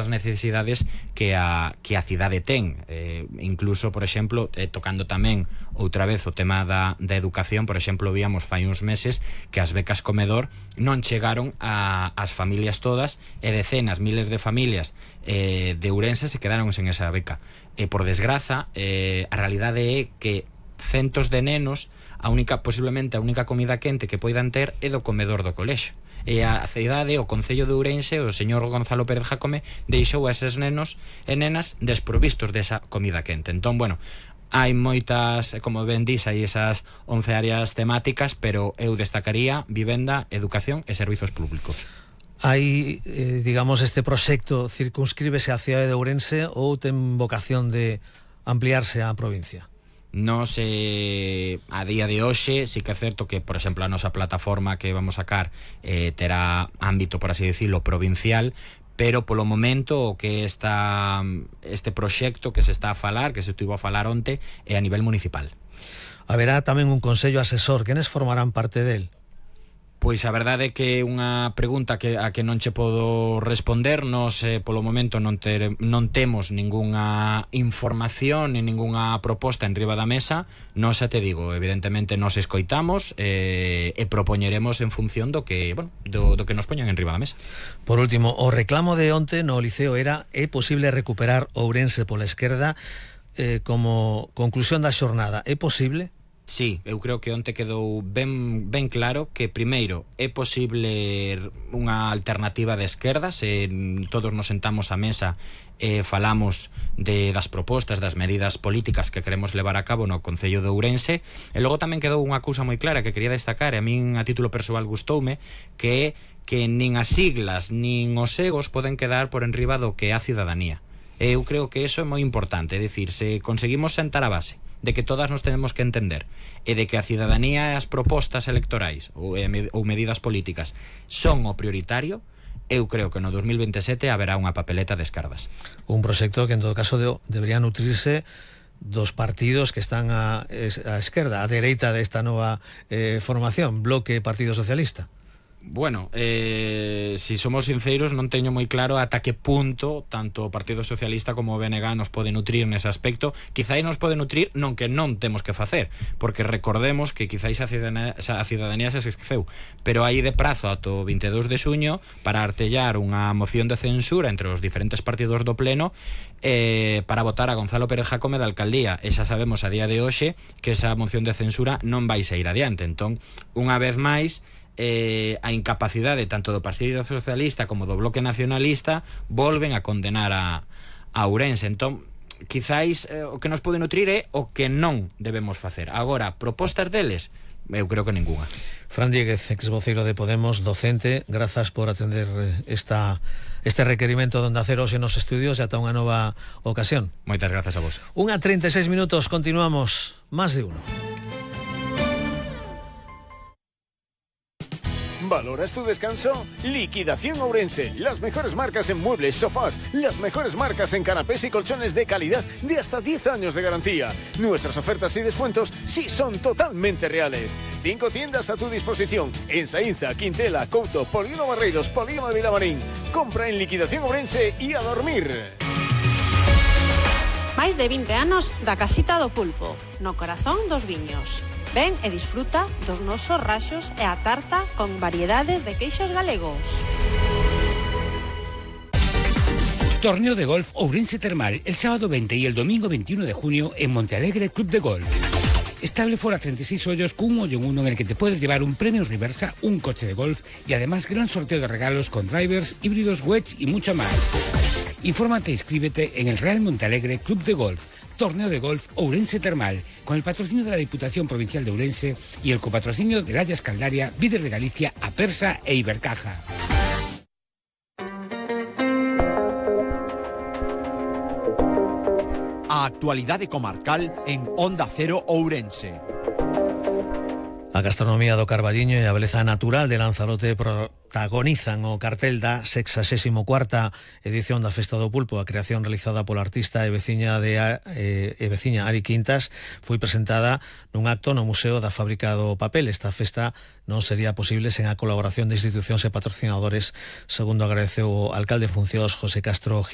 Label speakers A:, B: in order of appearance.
A: necesidades que a cidade ten. Incluso, por exemplo, tocando tamén outra vez o tema da educación, por exemplo, víamos fai uns meses que as becas comedor non chegaron ás familias todas, e decenas, miles de familias de Ourense se quedaron sen esa beca. Por desgraza, a realidade é que centos de nenos, posiblemente a única comida quente que poidan ter é do comedor do colexio. E a cidade, o Concello de Ourense, o señor Gonzalo Pérez Jácome, deixou a eses nenos e nenas desprovistos desa comida quente. Entón, bueno, hai moitas, como ben dis, hai esas 11 áreas temáticas, pero eu destacaría vivenda, educación e servizos públicos.
B: Hai, digamos, este proxecto circunscríbese á cidade de Ourense ou ten vocación de ampliarse á provincia?
A: Nos, a día de hoxe, sí que é certo que, por exemplo, a nosa plataforma que vamos sacar terá ámbito, por así decirlo, provincial, pero polo momento o que este proxecto que se está a falar, que se estivo a falar onte, é a nivel municipal.
B: Haberá tamén un consello asesor. Quenes formarán parte del?
A: Pois a verdade é que é unha pregunta a que non che podo responder. Nos, polo momento, non temos ningunha información ni ningunha proposta en riba da mesa. Nos, xa te digo, evidentemente nos escoitamos e propoñeremos en función do que nos poñan en riba da mesa.
B: Por último, o reclamo de onte no Liceo era: é posible recuperar Ourense pola esquerda como conclusión da xornada. É posible?
A: Sí, eu creo que onte quedou ben claro que, primeiro, é posible unha alternativa de esquerda se todos nos sentamos á mesa e falamos das propostas, das medidas políticas que queremos levar a cabo no Concello de Ourense. E logo tamén quedou unha cousa moi clara que quería destacar, e a min a título persoal gustoume, que é que nin as siglas nin os egos poden quedar por enriba do que é a cidadanía. Eu creo que eso é moi importante, é dicir, se conseguimos sentar a base de que todas nos tenemos que entender e de que a cidadanía e as propostas electorais ou medidas políticas son o prioritario, eu creo que no 2027 haberá unha papeleta de esquerdas.
B: Un proxecto que en todo caso debería nutrirse dos partidos que están á esquerda, á dereita desta nova formación, Bloque e Partido Socialista.
A: Bueno, si somos sinceros, non teño moi claro ata que punto tanto o Partido Socialista como o BNG nos pode nutrir nese aspecto. Quizáis nos pode nutrir non que non temos que facer, porque recordemos que quizáis a cidadanía se esqueceu, pero hai de prazo ata o 22 de xuño para artellar unha moción de censura entre os diferentes partidos do pleno para votar a Gonzalo Pérez Jácome da alcaldía, e xa sabemos a día de hoxe que esa moción de censura non vai sair adiante. Entón, unha vez máis, a incapacidade tanto do Partido Socialista como do Bloque Nacionalista volven a condenar a Ourense. Entón, quizáis o que nos pode nutrir é o que non debemos facer. Agora, propostas deles, eu creo que ninguna.
B: Fran Dieguez, exvoceiro de Podemos, docente, grazas por atender este requerimento donde hacer hoxe nos estudios e ata unha nova ocasión.
A: Moitas grazas a vos.
B: 1:36 minutos, continuamos. Más de uno.
C: ¿Valoras tu descanso? Liquidación Ourense. Las mejores marcas en muebles, sofás, las mejores marcas en canapés y colchones de calidad de hasta 10 años de garantía. Nuestras ofertas y descuentos sí son totalmente reales. 5 tiendas a tu disposición en Saínza, Quintela, Couto, Polígono Barreiros, Polígono de Vilamarín. Compra en Liquidación Ourense y a dormir.
D: Máis de 20 anos da Casita do Pulpo, no corazón dos viños. Ven e disfruta dos nosos raxos e a tarta con variedades de queixos galegos.
E: Torneo de golf Ourense Termal el sábado 20 y el domingo 21 de junio en Montealegre Club de Golf. Estable fora 36 hoyos con un hoyo en uno en el que te puedes llevar un premio Reversa, un coche de golf y además gran sorteo de regalos con drivers, híbridos, wedge y mucho más. Infórmate e inscríbete en el Real Montealegre Club de Golf, Torneo de Golf Ourense Termal, con el patrocinio de la Diputación Provincial de Ourense y el copatrocinio de Layas Caldaria, Víder de Galicia, Apersa e Ibercaja.
F: A actualidade comarcal en Onda Cero Ourense.
B: A gastronomía do Carballiño e a beleza natural de Lanzarote protagonizan o cartel da 64ª edición da Festa do Pulpo. A creación realizada pola artista e veciña Ari Quintas foi presentada nun acto no Museo da Fábrica do Papel. Esta festa non sería posible sen a colaboración de institucións e patrocinadores, segundo agradeceu o alcalde en funcións José Castro Gil.